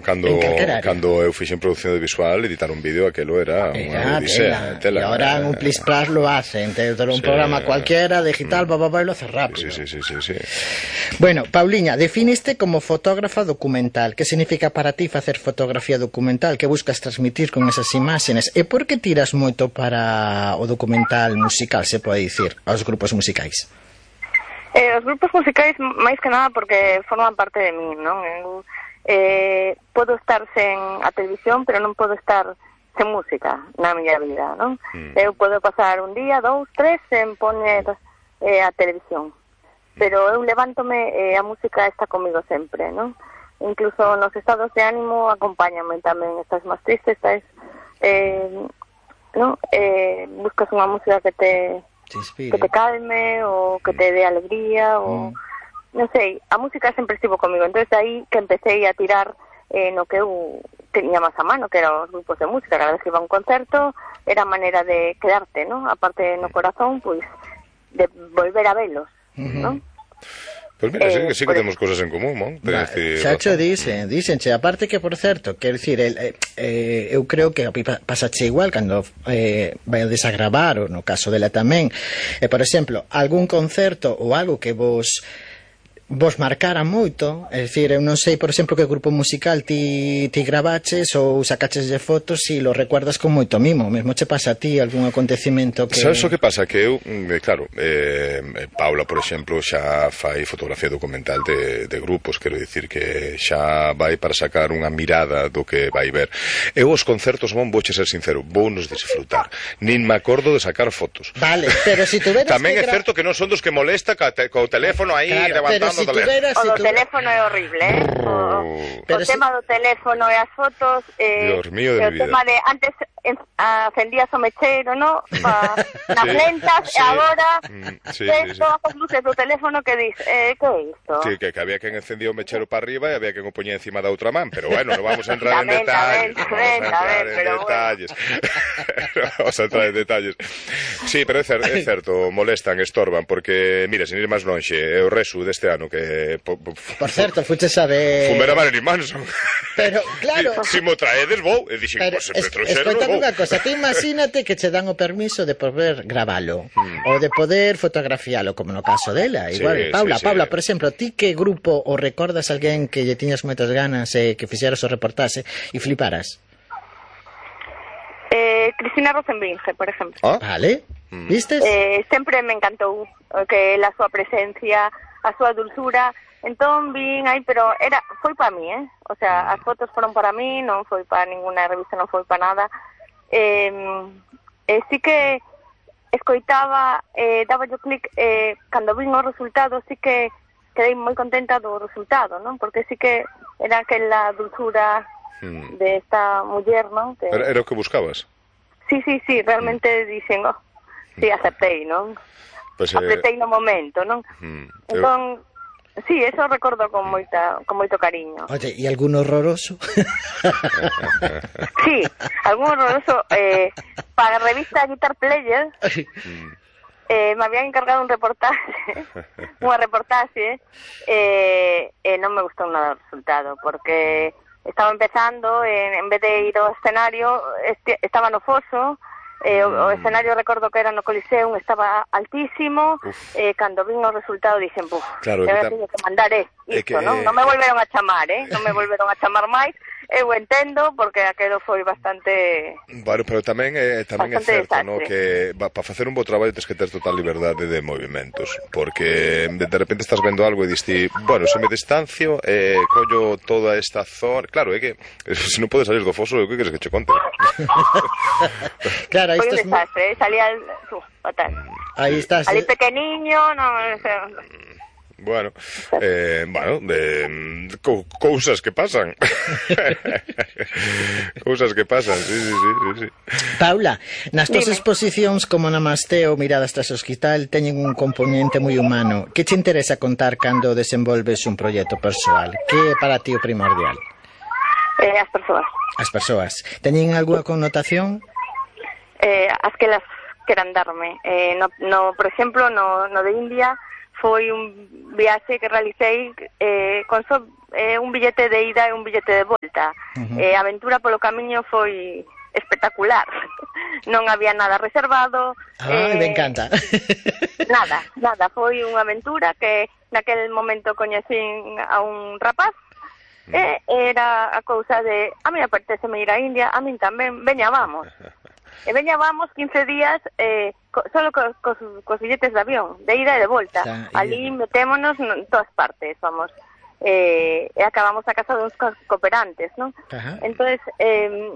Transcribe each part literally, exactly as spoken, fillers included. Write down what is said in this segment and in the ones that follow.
Cando, cando eu fixen produción de visual, editar un vídeo, aquelo era unha odisea. E ahora en un plis plas lo hacen, te un sí. programa cualquiera, digital, mm. papá, y lo hace rápido. Sí, sí, sí, sí, sí. Bueno, Pauliña, definiste como fotógrafa documental. Que significa para ti facer fotografía documental? Que buscas transmitir con esas imaxes? E por que tiras moito para o documental musical, se pode dicir, aos grupos musicais? Eh, os grupos musicais, máis que nada, porque forman parte de mí, non? Eu Eh, podo estar sen a televisión, pero non podo estar sen música na miña vida, non? Mm. Eu podo pasar un día, dous, tres, sen poñer eh, a televisión, pero eu levántome e eh, a música está comigo sempre, non? Incluso nos estados de ánimo acompáñame tamén, estás máis triste, estás eh, non? Eh, buscas unha música que te que te calme ou que te dé alegría ou mm. non sei, a música sempre estivo comigo, entonces aí que empecé a tirar eh, no que eu tenía máis a mano, que eran os grupos de música. Cada vez que iba a un concerto era a maneira de quedarte, ¿no? Aparte no corazón, pois, pues, de volver a velos, uh-huh. ¿no? Pois pues mira, eh, sí que sí que temos cosas en común, non? Va, xa cho dicen, dicenche, aparte que, por certo, quero dicir, el, eh, eu creo que pasache igual cando eh, vaiades a gravar, ou no caso dela tamén, eh, por exemplo, algún concerto ou algo que vos vos marcara moito, é dicir, eu non sei, por exemplo, que grupo musical ti, ti gravaches ou sacaches de fotos e lo recuerdas con moito mimo, mesmo che pasa a ti algún acontecimento que... Sabes o que pasa? Que eu, claro, eh, Paula, por exemplo, xa fai fotografía documental de, de grupos, quero dicir que xa vai para sacar unha mirada do que vai ver. Eu os concertos, bon, vouche ser sincero, vou nos disfrutar, nin me acordo de sacar fotos. Vale, pero si tuveras tamén que é certo que non son dos que molesta co, te, co teléfono aí claro, levantando si tuveras, o do si teléfono é horrible, eh? O, o si... tema do teléfono e as fotos, eh, Dios mío de o mi vida. tema de antes acendías o mechero, ¿no? Pa, nas sí, lentas, sí. E agora mm, sí, ves sí, sí. todas as luces do teléfono que dis, eh, que é isto? Sí, que, que había quen encendía o mechero para arriba e había quen o poñía encima da outra man, pero bueno, non vamos a entrar en detalles. Non vamos a entrar en detalles. Vamos a entrar en detalles. Sí, pero é, cer é certo, molestan, estorban, porque, mira, sin ir máis lonxe, é o resu deste ano que... Po, po, por certo, fuches a ver... Fumera Marilyn Manson. Pero, claro... Si, si mo traedes, vou. E dixen, pero, pues, es, escoitame unha cosa, te imagínate que che dan o permiso de poder gravalo, mm. ou de poder fotografialo, como no caso dela. Igual, sí, Paula, sí, Paula, sí. Por exemplo, ti que grupo ou recordas alguén que lle tiñas moitas ganas e eh, que fixeras o reportaxe e fliparas? Eh, Cristina Rosenbringe, por exemplo. Ah, vale, mm. vistes? Eh, sempre me encantou que a súa presencia, a súa dulzura. Entón vin aí, pero era foi para mí, eh? O sea, as fotos foron para mí, non foi para ninguna revista, non foi para nada. Eh, eh, sí que escoitaba, eh, daba yo clic, eh, cando vin o resultado, sí que quedei moi contenta do resultado, non? Porque sí que era aquela dulzura hmm. de esta muller, non? Que... Era, era o que buscabas? Sí, sí, sí, realmente hmm. dixen, oh, sí, aceptei, non? Pues, eh... Apretei no momento, non? Hmm. Entón... Sí, eso recordo con moita, con moito cariño. Oye, ¿y algún horroroso? Sí, algún horroroso. Eh, para a revista Guitar Player, eh, me habían encargado un reportaje, unha reportaje, eh, eh, non me gustou nada o resultado, porque estaba empezando, eh, en vez de ir ao escenario, este, estaba no foso. Eh, o, o escenario recordo que era no Coliseum, estaba altísimo. eh, cando vin o resultado dixen, buf, claro, eu teño que mandar eh, isto, que... non? Non me volveron a chamar, eh? Non me volveron a chamar máis. Eu entendo, porque aquelo foi bastante... Bueno, pero tamén é, tamén é certo, no, que para facer un bo traballo tens que ter total liberdade de movimentos, porque de, de repente estás vendo algo e diste, bueno, se me distancio, eh, collo toda esta zona... Claro, é que se non podes salir do foso, o que queres que che conte? Claro, aí foi un desastre, eh? Salía al... Uh, fatal. Aí estás... Ali pequeniño, non... Bueno, eh, bueno, de, co cousas que pasan. Cousas que pasan, sí, sí, sí, sí. Paula, nas túas exposicións como Namasteo, Miradas tras o hospital, teñen un componente moi humano. Que te interesa contar cando desenvolves un proxecto persoal? Que é para ti o primordial? Eh, as persoas. As persoas. Teñen algunha connotación? Eh, as que las queran darme. Eh, no, no, por exemplo, no, no de India foi un viaxe que realicei eh, con so, eh, un billete de ida e un billete de volta. Uh-huh. eh, a aventura polo camiño foi espectacular. Non había nada reservado. Ah, eh, me encanta. Nada, nada. Foi unha aventura que naquel momento coñecín a un rapaz uh-huh. e era a cousa de a mí apetece me ir a India, a min tamén, veña, vamos. E veña, vamos quince días eh, co, solo co, co, cos billetes de avión, de ida e de volta. Xa, ali metémonos en todas partes, vamos. Eh, e acabamos a casa dos cooperantes, non? Entonces, eh,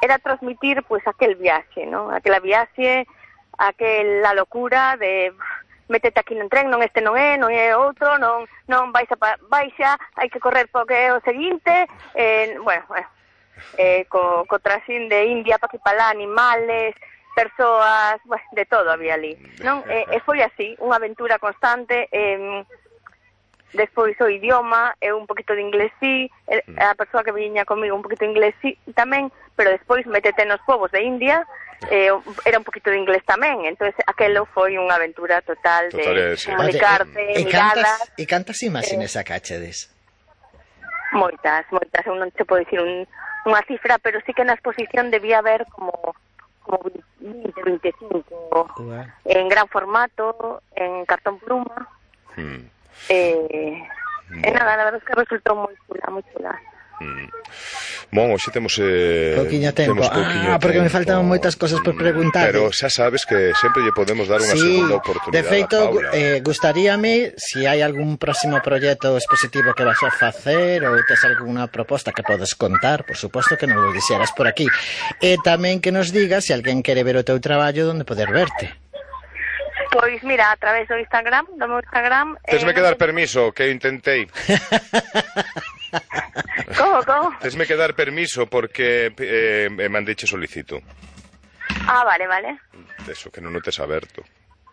era transmitir, pues, aquel viaxe, non? Aquela viaxe, aquela locura de métete aquí no tren, non este non é, non é outro, non non vais a baixa, hai que correr porque é o seguinte, eh, bueno, bueno. Eh, co, co trasín de India pa aquí palá, animales, persoas, bueno, de todo había ali, non? E, e foi así, unha aventura constante. eh, despois o idioma, e un poquito de inglés sí, a persoa que viña comigo un poquito de inglés sí tamén, pero despois métete nos povos de India, eh, era un poquito de inglés tamén, entonces aquelo foi unha aventura total de total, sí. Comunicarte, e, e, miradas. E cantas imaxines eh, a cachedes? Moitas, moitas, eu non te podo dicir un unha cifra, pero sí que na exposición debía haber como como vinte, veinticinco uh-huh. en gran formato, en cartón pluma. Hmm. Eh, bueno. E nada, la verdad es que resultou moi chula, moi chula. Mm. Bon, hoxe temos eh, pouquiño tempo. Temos pouquiño ah, porque tempo. Me faltaban moitas cosas por preguntar. Pero xa sabes que sempre lle podemos dar unha sí, segunda oportunidade. De feito, a Paula. eh, gustaríame se si hai algún próximo proxecto expositivo que vas a facer ou tes algunha proposta que podes contar, por suposto que non lo dixeras por aquí. E tamén que nos digas se alguén quere ver o teu traballo onde poder verte. Pois mira, a través do Instagram, do meu Instagram... Tesme eh, que dar permiso, que eu intentei. Como, como? Tesme que dar permiso porque eh, mandeiche solicito. Ah, vale, vale. Eso, que non o tes aberto.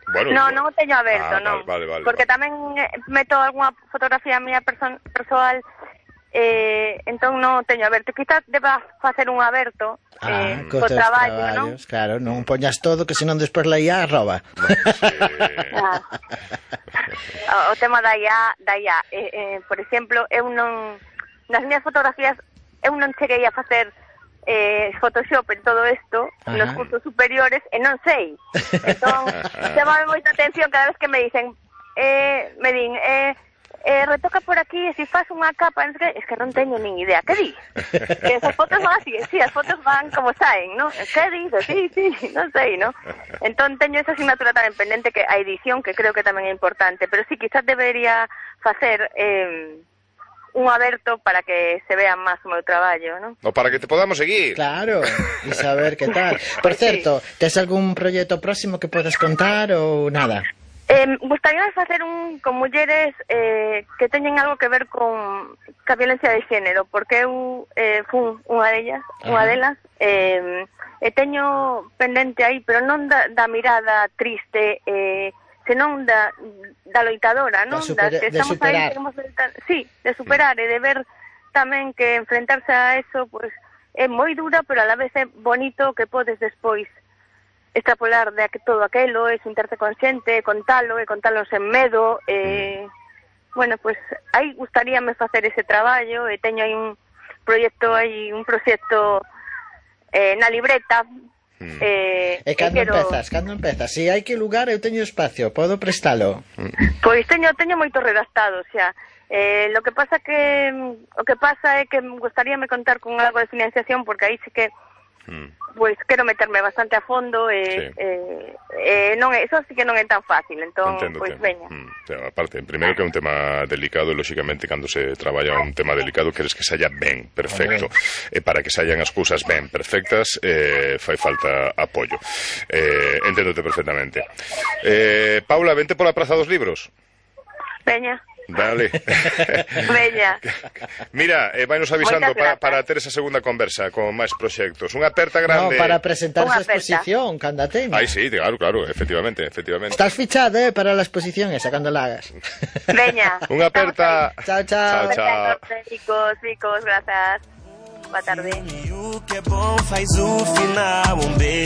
Bueno, no, non o teño aberto, ah, non. Vale, vale, porque vale. Tamén meto algunha fotografía mía person- persoal, eh, entón non o teño aberto. Quizás deba facer un aberto. Ah, eh, co traballo, non? Claro, non poñas todo, que senón despois la I A arroba. No, sí. ah. o, o tema da I A, da I A eh, eh, por exemplo, eu non nas miñas fotografías eu non cheguei a facer eh, Photoshop en todo isto nos cursos superiores e non sei. Entón, chamame moita atención cada vez que me dicen eh, me din, eh, eh, retoca por aquí e se faz unha capa, es que non teño nin idea. Que di? Que esas fotos van así, sí, as fotos van como saen, ¿no? Que dices? Sí, sí, non sei, ¿no? Entón teño esa asignatura tamén pendente, que a edición, que creo que tamén é importante, pero sí, quizás debería facer eh, un aberto para que se vea máis o meu traballo, ¿no? O para que te podamos seguir. Claro, e saber que tal. Por certo, sí. Tes algún proxecto próximo que podes contar ou nada? Eh, gustaría facer un con mulleres eh, que teñen algo que ver con ca violencia de xénero, porque eu eh, fun unha delas, unha delas, eh, e teño pendente aí, pero non da, da mirada triste, eh, senón da, da loitadora, non? Da, super, que de estamos superar. Aí, de, sí, de superar, e de ver tamén que enfrentarse a eso, pues, é moi dura, pero a la vez é bonito que podes despois extrapolar de todo aquelo, e sentirte consciente, contalo, e contalo sen medo, e, bueno, pues, aí gustaríame facer ese traballo, e teño aí un proxecto, aí un proxecto eh, na libreta, Mm. Eh, e cando quero... empezas, cando empezas? Si hai que lugar, eu teño espacio, podo prestalo? Pois teño, teño moito redactado, xa. Eh, lo que pasa que o que pasa é que gustaríame contar con algo de financiación, porque aí sí que mm. pois quero meterme bastante a fondo e sí. eh, eh, non é, eso sí que non é tan fácil, entón, pois veña. Mm. Aparte, primeiro que é un tema delicado, e lóxicamente cando se traballa un tema delicado queres que saia ben, perfecto, e para que saian as cousas ben perfectas eh, fai falta apoio. Eh, enténdote perfectamente. Eh, Paula, vente pola Praza dos Libros. Veña. Dale. Veña. Mira, eh, vai nos avisando para, para ter esa segunda conversa con máis proxectos. Unha aperta grande. No, para presentar esa exposición, cando a teña. Ai, sí, claro, claro, efectivamente, efectivamente. Estás fichado, eh, para la exposición esa, cando la hagas. Veña. Unha aperta. Chao, chao. Chao, chao. Chicos, chicos, gracias. Boa tarde.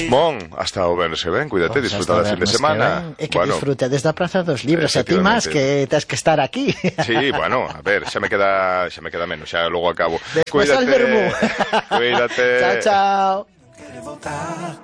Mon, hasta o verse ben, cuídate, pues disfruta do fin de semana. E que bueno, disfrute desde a Praza dos Libros, a ti máis que tens que estar aquí. Sí, bueno, a ver, xa me queda xa me queda menos, xa logo acabo. Despois al vermú. Cuídate. Chao, chao.